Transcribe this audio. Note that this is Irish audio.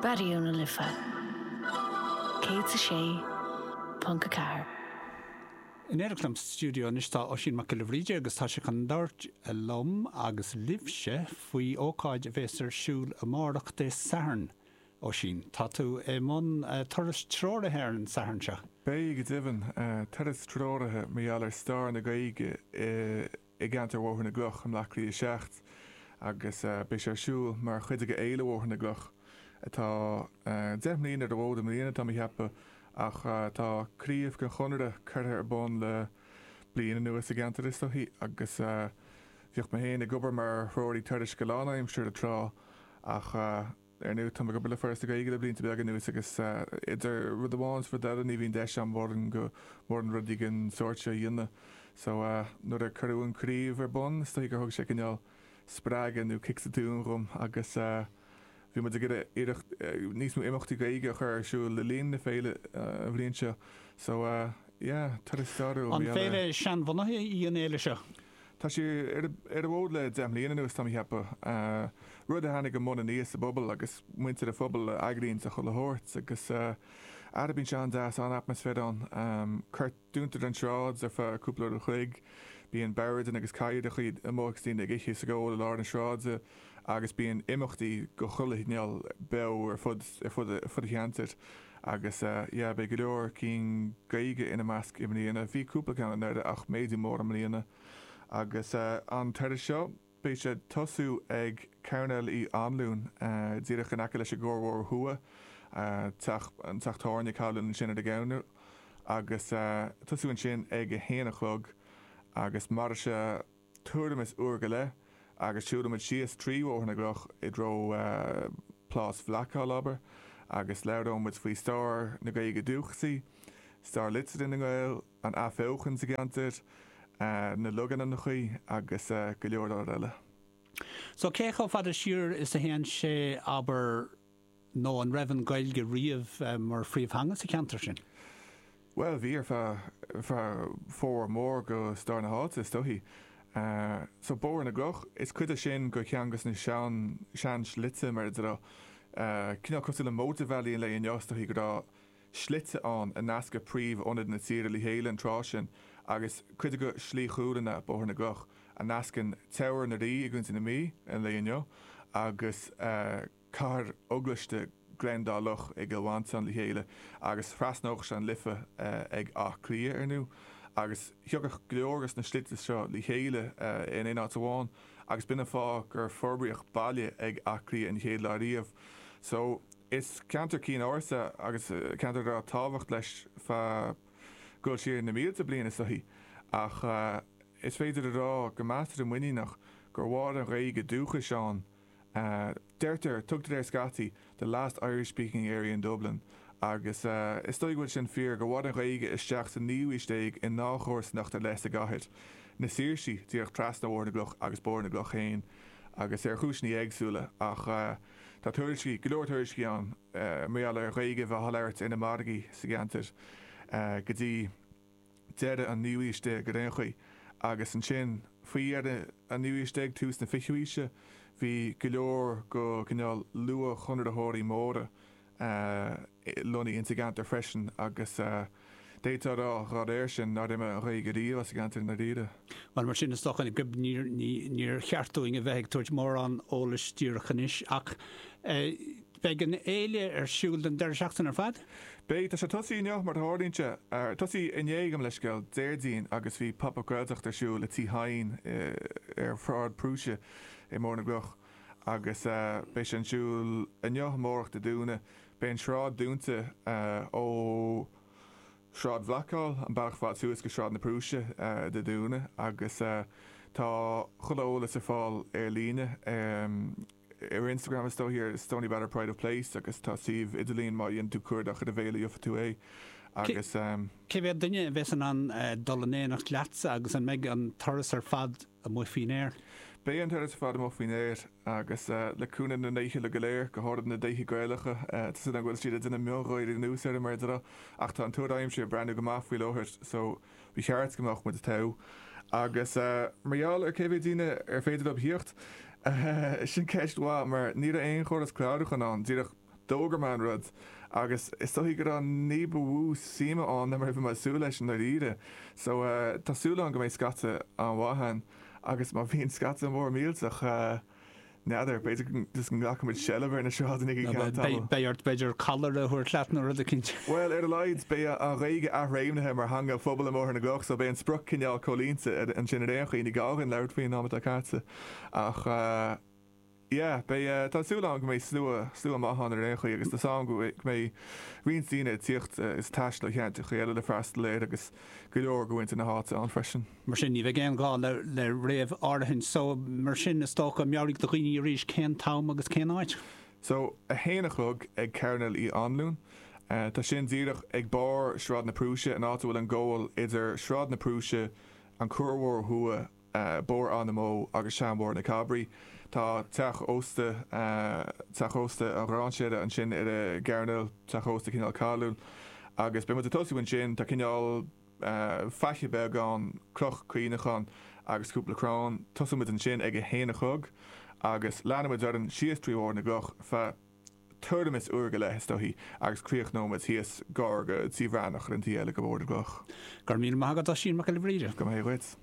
Raidió na Life 106.4. In éineacht liom sa stiúideo anois tá Oisín Mac Giolla Bhríde agus tá sé chun labhairt liom agus libhse faoi ócáid a bhéas ar siúl amárach Dé Sathairn. Oisín, tá tú i mbun turas treoraithe ar an Satharn seo. Beidh, go deimhin. Turas treoraithe mar gheall ar stair na Gaeilge i gceantar Bhóthar na gCloch i mBleá Cliath 7 agus beidh sé ar siúl mar chuid de Fhéile Bhóthar na gCloch atá 10 mbliana ar an bhfód i mbliana, tá mé a cheapadh, ach tá craobh den Chonradh curtha ar bun le bliain anuas sa gceantar is dóichí agus bhíodh mé féin ag obair mar threoraí turais go lánaimseartha tráth ach Ar ndóigh, táim ag obair le Foras na Gaeilge le blianta beaga anuas agus idir rud amháin is rud eile ní bhíonn deis agam mórán go mórán rudaí den sórt seo a dhéanamh. So, nuair a cuireadh an craobh ar bun, is dóigh gur thug sé cineál spreagadh nó cic sa tóin dhom agus bhí muid ag iarraidh iarracht níos mó imeachtaí Gaeilge a chur ar siúl le linn na féile an bhliain seo. So, yeah, turas stairiúil. An féile seanbhunaithe í an fhéile seo? Tá sí ar an bhfód le 10 mbliana anuas, tá mé a cheapadh. Rud a tháinig i mbun aníos sa bpobal agus muintir an phobail a eagraíonn chuile shórt agus ara bíonn sé an-deas, an-atmaisféar ann. Cuir, dúntar an tsráid ar feadh cúpla uair an chloig, bíonn boird agus cathaoireacha amuigh agus daoine ag ithe is ag ól i lár na sráide agus bíonn imeachtaí de chuile chineál beo ar fud ar fud ar fud an cheantair agus yeah beidh go leor cinn Gaeilge ina measc i mbliana. Bhí cúpla ceann anuraidh ach méadú mór i mbliana. Agus an turas seo beidh sé ag tosú ag Coirnéal Uí Anluain díreach in aice leis an gCuarbhóthar Thuaidh, teach an teach tábhairne Callan ansin ar an gcoirnéal agus tosú ansin ag a haon a chlog agus mairfidh sé tuairim is uair go leith agus siúlfaidh muid síos trí Bhóthar na gCloch i dtreo Plás Bhlackhall, abair, agus labhróidh muid faoi stair na Gaeilge dúchasaí, stair liteartha na nGael, an athbheochan sa gceantar, na logainmneacha agus go leor leor eile. So cé chomh fada siar is a théann sé, abair, Nó an raibh an Ghaeilge riamh mar phríomhtheanga sa cheantar sin? Bhuel, bhí ar feadh, ar feadh formhór mór go stair na háite, is dóichí. So, Bóthar na gCloch, is cuid é sin go cheann dos na sean, sean-shlite, mar a déarfá. Cineál cosúil le mótarbhealaí an lae inniu, is dóichí go raibh slite ann a nascadh príomh-ionaid na tíre le chéile an tráth sin, agus cuid de Shlí Chualann ea Bóthar na gCloch, a nascann Teamhair na Rí i gContae na Mí an lae inniu agus. Cathair Eaglaiste Gleann Dá Loch i gCill Mhantáin le chéile agus thrasnódh sé an Life ag Áth Cliath, ar ndú, agus thiocfadh go leor dos na slite seo le chéile in aon áit amháin agus b'in an fáth gur forbraíodh baile ag Áth Cliath an chéad lá riamh. So, is ceantar cinn ársa agus ceantar a raibh tábhacht leis feadh dul siar na mílte bliain is dóichí ach is féidir a rá go measartha muiníneach gur mhair an Ghaeilge dúchais ann Deirtear, tugtar air scaití, the last Irish speaking area in Dublin agus is dóigh go bhfuil sin fíor, gur mhair an Ghaeilge isteach sa naoú haois déag i ndá chomharsanacht ar leith sa gcathair, na Saoirsí, díreach trasna Bhóthar na gCloch agus Bóthar na gCloch féin, agus ar chúiseanna éagsúla ach tá tuairiscí, go leor tuairiscí ann mar gheall ar Ghaeilge a bheith á labhairt ar na margaí sa gceantar go dtí. deireadh an naoú haois déag ar aon chaoi, agus ansin faoi dheireadh an naoú haois déag, tús na fichiú haoise, bhí go leor go cineál luath-chonraitheoirí móra lonnaithe insa gceantar freisin agus d'fhéadfá a rá dá réir sin nár imigh an Ghaeilge riamh as an gceantar i ndáiríre. Bhuel, mar sin, is dócha go níor cheart dúinn a bheith ag tabhairt mórán eolais díreach anois ach Beidh an fhéile ar siúl don deireadh seachtaine ar fad? Beidh. Tá sé tosaithe inniu, mar a tharlaíonn sé. Tosaithe inné, gabh mo leithscéal, Déardaoin agus bhí Pop Up Gaeltacht ar siúl i Tí Hyne ar Shráid Prúise i mBóthar na gCloch agus beidh sé ar siúl inniu, amárach, Dé Domhnaigh. Beidh an sráid dúnta ó Shráid Bhlackhall, an bealach fad suas go Sráid na Prúise Dé Domhnaigh agus tá chuile eolas ar fáil ar líne. Ar Instagram is dóichí ar Stoneybatter Pride of Place agus tá suíomh idirlín má dhéanann tú cuardach ar an bhféile gheobhaidh tú é agus. Cé mhéad duine a bheas in ann dul in éineacht leatsa agus an mbeidh an turas ar fad amuigh faoin aer? Beidh an turas ar fad amuigh faoin aer agus le cúnamh na ndéithe uile go léir, go háirid na déithe Gaelacha, tá súil agam go bhfuil siad ag déanamh miongháirí anuas orm mar a déarfá ach tá an tuar aimsire ag breathnú go maith faoi láthair so Ba cheart go mbeadh muid togha. Agus mar gheall ar cé mhéad daoine ar féidir leo theacht, sin ceist mhaith mar ní raibh aon chóras clárúcháin ann, díreach D'fhógair mé an rud agus is dóichí go raibh ní ba mhó suime ann ná mar a bhí mé ag súil leis i ndáiríre. So tá súil agam go mbeidh scata an-mhaith ann agus má bhíonn scata mór millteach, n'fheadar, b'fhéidir just go nglacfaidh muid seilbh ar na sráideanna go ceann tamaill. Beidh ort b'fhéidir collar a thabhairt leat nó rud eicínt. Bhuel, ar a laghad beidh an Ghaeilge athréimnithe mar theanga phobail i mBóthar na gCloch so beidh an sprioc cineál comhlíonta ansin ar aon chaoi, ní gá dhúinn labhairt faoin am atá caite ach. Yeah, beidh, tá súil agam go mbeidh slua, slua maith ann ar aon chaoi agus tá súil agam go mbeidh roinnt daoine ag tíocht is ag taisteal ó cheantracha eile le freastal air agus go leor de mhuintir na háite ann freisin. Mar sin, ní bheidh aon ghá le, le réamh-áirithint. So, mar sin, is dócha, meabhraigh do dhaoine arís cén t-am agus cén áit. So, 1 a chlog ag Cearnal Uí Anluain. Tá sin díreach ag barr Sráid na Prúise, an áit a bhfuil an gabhal idir Sráid na Prúise, an Cuarbhóthar Thuaidh, Bóthar Áth na mBó agus Seanbhóthar na Cabraí. Tá teach ósta, teach ósta an Ghráinséara ansin ar an gcearnal, teach ósta cineál cáiliúil. Agus beidh muid ag tosú ansin, tá cineál faiche beag ann, cloch cuimhneacháin agus cúpla crann. Tosóidh muid ansin ag a haon a chlog agus leanfaidh muid orainn síos trí Bhóthar na gCloch feadh tuairim is uair go leith is dóichí agus críochnóidh muid thíos gar go Tí Bhreathnach ar an taobh eile de Bhóthar na gCloch. Go raibh míle maith agat Oisín Mac Giolla Bhríde. Go maith dhuit.